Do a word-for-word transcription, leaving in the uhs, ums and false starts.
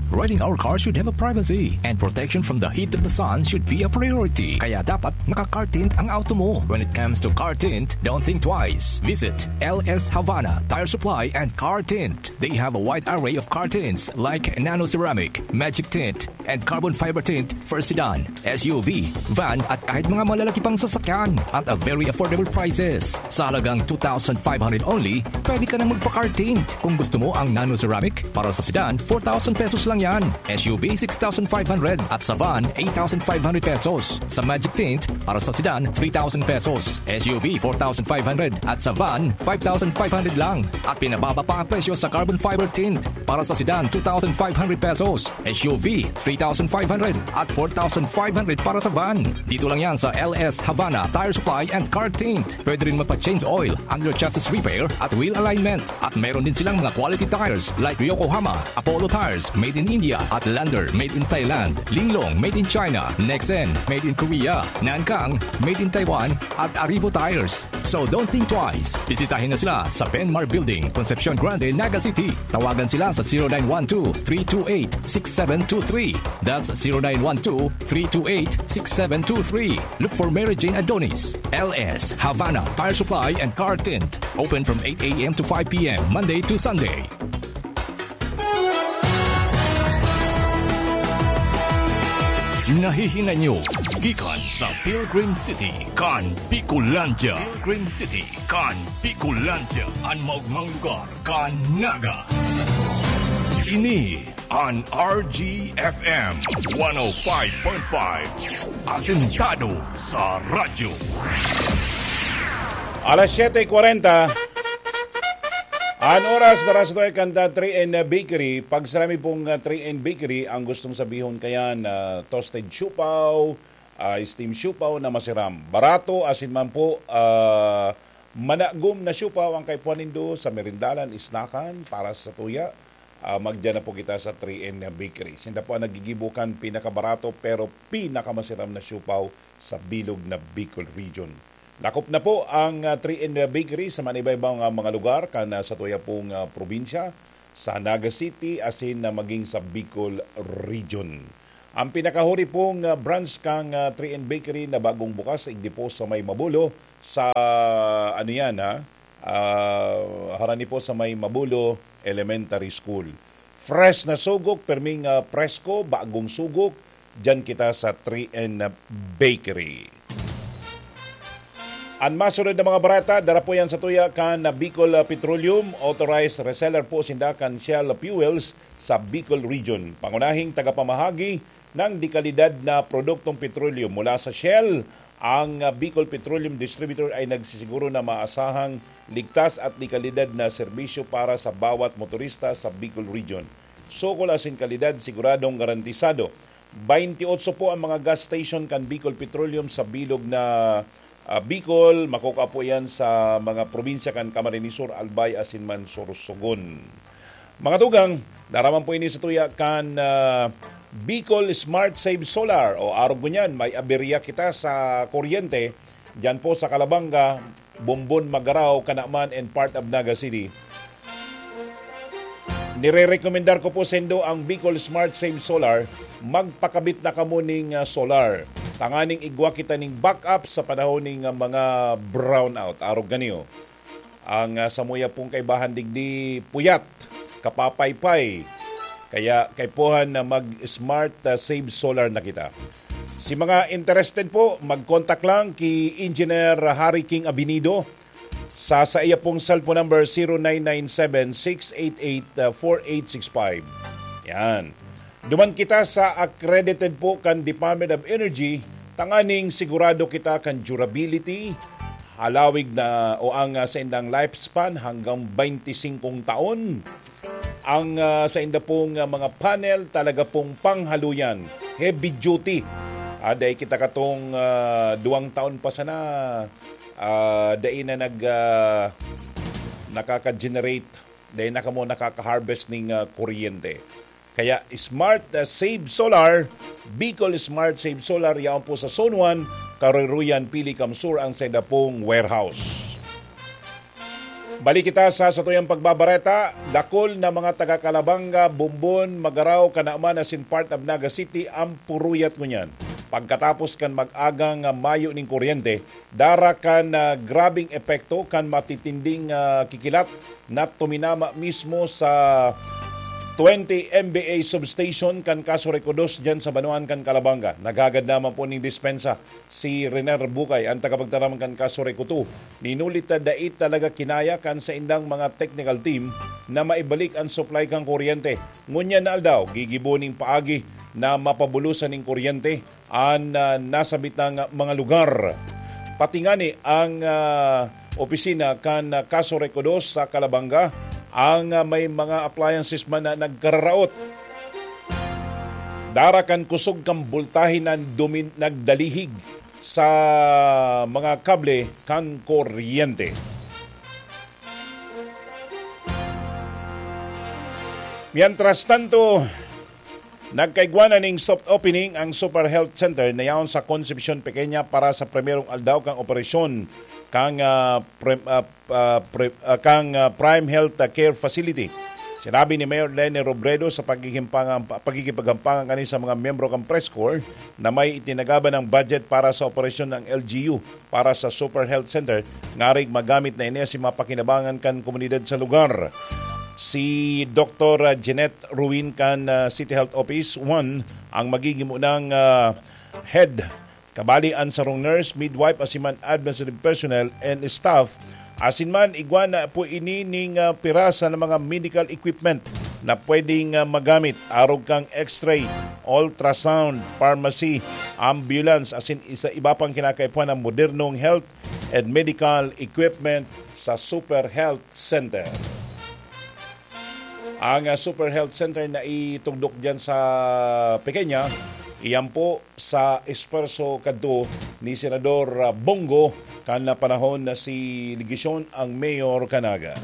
Riding our car should have a privacy, and protection from the heat of the sun should be a priority. Kaya dapat naka-car tint ang auto mo. When it comes to car tint, don't think twice. Visit L S Havana Tire Supply and Car Tint. They have a wide array of car tints like nano ceramic, magic tint, and carbon fiber tint for sedan, S U V, van at kahit mga malalaki pang sasakyan at a very affordable prices. Sa halagang two thousand five hundred only, pwede ka nang magpa-car tint. Kung gusto mo ang nano ceramic, para sa sedan, four thousand pesos lang yan. S U V, six thousand five hundred at sa van, eight thousand five hundred pesos. Sa magic tint, para sa sedan, three thousand pesos. S U V, four thousand five hundred at sa van, five thousand five hundred lang. At pinababa pa ang presyo sa carbon fiber tint. Para sa sedan, two thousand five hundred pesos. S U V, three thousand five hundred at four thousand five hundred para sa van. Dito lang yan sa L S Havana Tire Supply and Car Tint. Pwede rin magpa-change oil, under chassis repair at wheel alignment. At meron din silang mga quality tires like Yokohama, Apollo Tires, made in India, at Lander, made in Thailand, Linglong, made in China, Nexen, made in Korea, Nankang, made in Taiwan, at Aribo Tires. So don't think twice. Bisitahin na sila sa Benmar Building, Concepcion Grande, Naga City. Tawagan sila sa zero nine one two, three two eight, six seven two three. That's zero nine one two, three two eight, six seven two three. Look for Mary Jane Adonis, L S, Havana Tire Supply and Car Tint. Open from eight a.m. to five p.m., Monday to Sunday. Nahihinay nyo gikan sa Pilgrim City kan Bicolandia. Pilgrim City kan Bicolandia. An maugmang lugar kan Naga. Ini an R G F M one oh five point five. Asentado sa radyo. Alas siyete kwarenta. An oras na ras to ay kanta three N Bakery. Pag sinabi pong, ah, three N Bakery, ang gustong sabihon kaya na toasted siopao, ah, steam siopao na masiram. Barato, asin man po, ah, managom na siopao ang kaipuhan nindo sa merindalan, isnakan, para sa tuya. Ah, magdiyan na po kita sa three N Bakery. Sinda po ang nagigibo kan pinakabarato pero pinakamasiram na siopao sa bilog na Bicol Region. Lakop na po ang, ah, three N Bakery sa manibay-baw nga mga lugar kan, ah, sa tuya pong, ah, probinsya, sa Naga City, asin na maging sa Bicol Region. Ang pinakahuri pong, ah, branch kang, ah, three N Bakery na bagong bukas, igdi po sa may Mabulo, sa, ano yan, ha? Ah, harani po sa may Mabulo Elementary School. Fresh na sugok, perming, ah, presko, bagong sugok, diyan kita sa three N Bakery. An masunod na mga bareta, dara po yan sa tuya kan Bicol, ah, Petroleum, authorized reseller po sinda kan Shell Fuels sa Bicol Region. Pangunahing tagapamahagi ng dekalidad na produktong petrolyo mula sa Shell, ang, ah, Bicol Petroleum Distributor ay nagsisiguro na maasahang ligtas at dekalidad na serbisyo para sa bawat motorista sa Bicol Region. Sukol asin kalidad siguradong garantisado. Bainti otso po ang mga gas station kan Bicol Petroleum sa bilog na, ah, Bicol. Makukua po yan sa mga probinsya kan Camarines Sur, Albay, asin man Sorsogon. Mga tugang, daraman po ini sa tuya kan, ah, Bicol Smart Save Solar. O arog ngunyan, may aberya kita sa kuryente. Diyan po sa Calabanga, Bombon, Magarao, Canaman, and part of Naga City. Nire-rekomendar ko po sendo ang Bicol Smart Save Solar. Magpakabit na kamo ning, ah, solar. Tanganing igwa kita ning backup sa panahon ning, ah, mga brownout. Arog ganiyo. Ang, ah, samuya pong kaibahan digdi puyat, kapapaypay. Kaya kaipuhan na mag-smart, ah, save solar na kita. Si mga interested po, mag-contact lang ki Engineer Harry King Abinido sa, sa iya pong cellphone number, zero nine nine seven, six eight eight, four eight six five. Yan. Duman kita sa accredited po kan Department of Energy, tanganing sigurado kita kan durability, halawig na o ang, ah, saindang lifespan hanggang bainti singkong taon. Ang, ah, sainda pong, ah, mga panel talaga pong panghaluyan, heavy duty. Ah, dai kita katong, ah, duwang taon pa sana, ah, dai na nag, ah, nakaka-generate, dai na kamo nakaka-harvest ning, ah, kuryente. Kaya Smart, ah, Save Solar, Bicol Smart Save Solar, yaon po sa Zone one, Karuruyan, Pili, Kamsur ang sainda pong warehouse. Balik kita sa satuyang pagbabareta. Dakul na mga taga Calabanga, Bombon, Magarao, Canaman asin part of Naga City ang puruyat ngunyan pagkatapos kan mag-agang mayo nin kuryente, dara kan, ah, grabeng epekto kan matitinding, ah, kikilat na tuminama mismo sa twenty M V A substation kan Caso Recodos diyan sa banwaan kan Calabanga. Naghagad naman po ning dispensa si Rener Bukay, ang tagapagtaram kan Caso Recoto. Ninulit na dai talaga kinaya kan saindang mga technical team na maibalik ang supply kan kuryente. Ngunyan na aldaw, gigibo ning paagi na mapabulosan ning kuryente an, ah, nasabitang mga lugar. Pati ngani ang, ah, opisina kan, ah, Caso Recodos sa Calabanga, ang, ah, may mga appliances man na nagkararaot. Dara kan kusog kan boltahe na dumin-, nagdalihig sa mga kable kan kuryente. Mientras tanto, nagkaigwa na ning soft opening ang Super Health Center na yaon sa Concepcion Pequeña para sa primerong aldaw kan operasyon kan, ah, pre-, ah, ah, pre-, ah, kan, ah, Prime Health, ah, Care Facility. Sinabi ni Mayor Leni Robredo sa pagkikimpangan-, pagkikipaghampangan kani sa mga miyembro kan press corps na may itinagaban ng budget para sa operasyon ng L G U para sa Super Health Center, ngarig magamit na ini sa mga pakinabangan kan komunidad sa lugar. Si Doktor Jeanette Ruin kan, ah, City Health Office one ang magiging unang, ah, head. Kabali an sarong nurse, midwife, asin man administrative personnel and staff. Asin man, igwa na po ini ning, ah, pirasa ng mga medical equipment na pwedeng, ah, magamit, arog kan X-ray, ultrasound, pharmacy, ambulance, asin isa iba pang kinakaipuhan ng modernong health and medical equipment sa Super Health Center. Ang, ah, Super Health Center na itugdok diyan sa Pequeña, iyan po sa esfuerso kadto ni Senador, ah, Bong Go kan panahon na si Legacion ang mayor kan Naga.